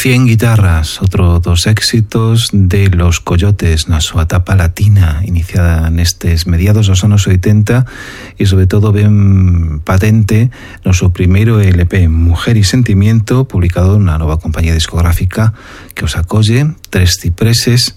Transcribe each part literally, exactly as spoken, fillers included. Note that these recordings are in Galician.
cien guitarras, outro dos éxitos de Los Coyotes na súa etapa latina, iniciada nestes mediados dos anos oitenta e sobre todo ben patente no seu primeiro L P Mujer y Sentimiento, publicado na nova compañía discográfica que os acolle, Tres Cipreses,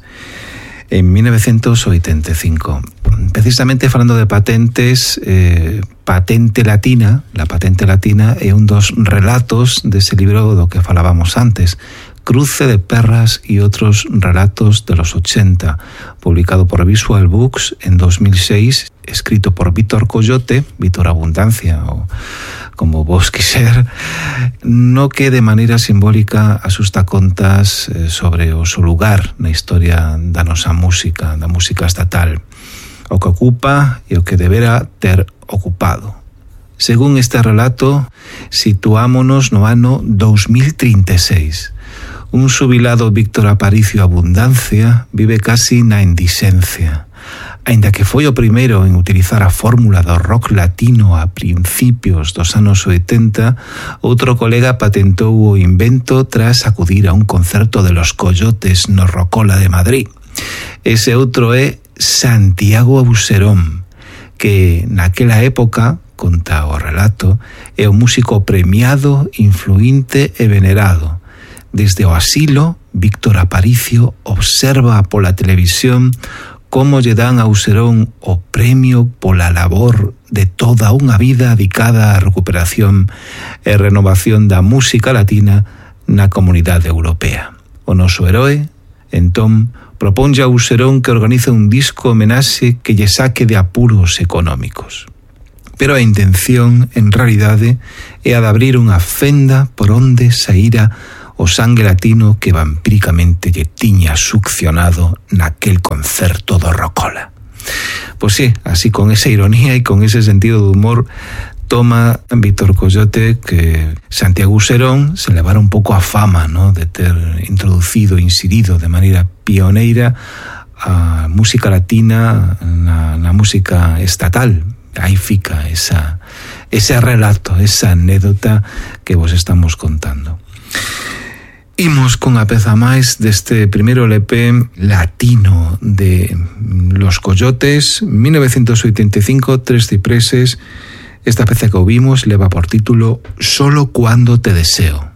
en mil novecientos oitenta e cinco. Precisamente falando de patentes, eh, Patente Latina, la Patente Latina é un dos relatos dese libro do que falábamos antes, Cruce de Perras y otros relatos de los ochenta, publicado por Visual Books en dos mil seis, escrito por Víctor Coyote, Víctor Abundancia, o como vos quiser, no que de maneira simbólica asusta contas sobre o seu lugar na historia da nosa música, da música estatal, o que ocupa e o que debera ter ocupado. Según este relato, situámonos no ano dos mil trinta e seis. Un xubilado Víctor Aparicio Abundancia vive casi na indixencia. Aínda que foi o primeiro en utilizar a fórmula do rock latino a principios dos anos oitenta, outro colega patentou o invento tras acudir a un concerto de Los Coyotes no Rocola de Madrid. Ese outro é Santiago Auserón, que naquela época, conta o relato, é un músico premiado, influinte e venerado. Desde o asilo, Víctor Aparicio observa pola televisión como lle dan a Auserón o premio pola labor de toda unha vida dedicada á recuperación e renovación da música latina na comunidade europea. O noso heroe, entón, proponlle a Auserón que organice un disco homenaxe que lle saque de apuros económicos. Pero a intención, en realidade, é a de abrir unha fenda por onde saíra o sangue latino que vampíricamente lle tiña succionado naquel concerto do Rocola. Pois sí, así con esa ironía e con ese sentido de humor toma Víctor Coyote que Santiago Auserón se levara un pouco a fama, ¿no?, de ter introducido, inserido de maneira pioneira a música latina na, na música estatal. Aí fica esa, ese relato, esa anécdota que vos estamos contando. Imos con a peza máis deste primeiro L P latino de Los Coyotes, mil novecientos oitenta e cinco, Tres Cipreses. Esta peza que ouvimos leva por título Solo cuando te deseo.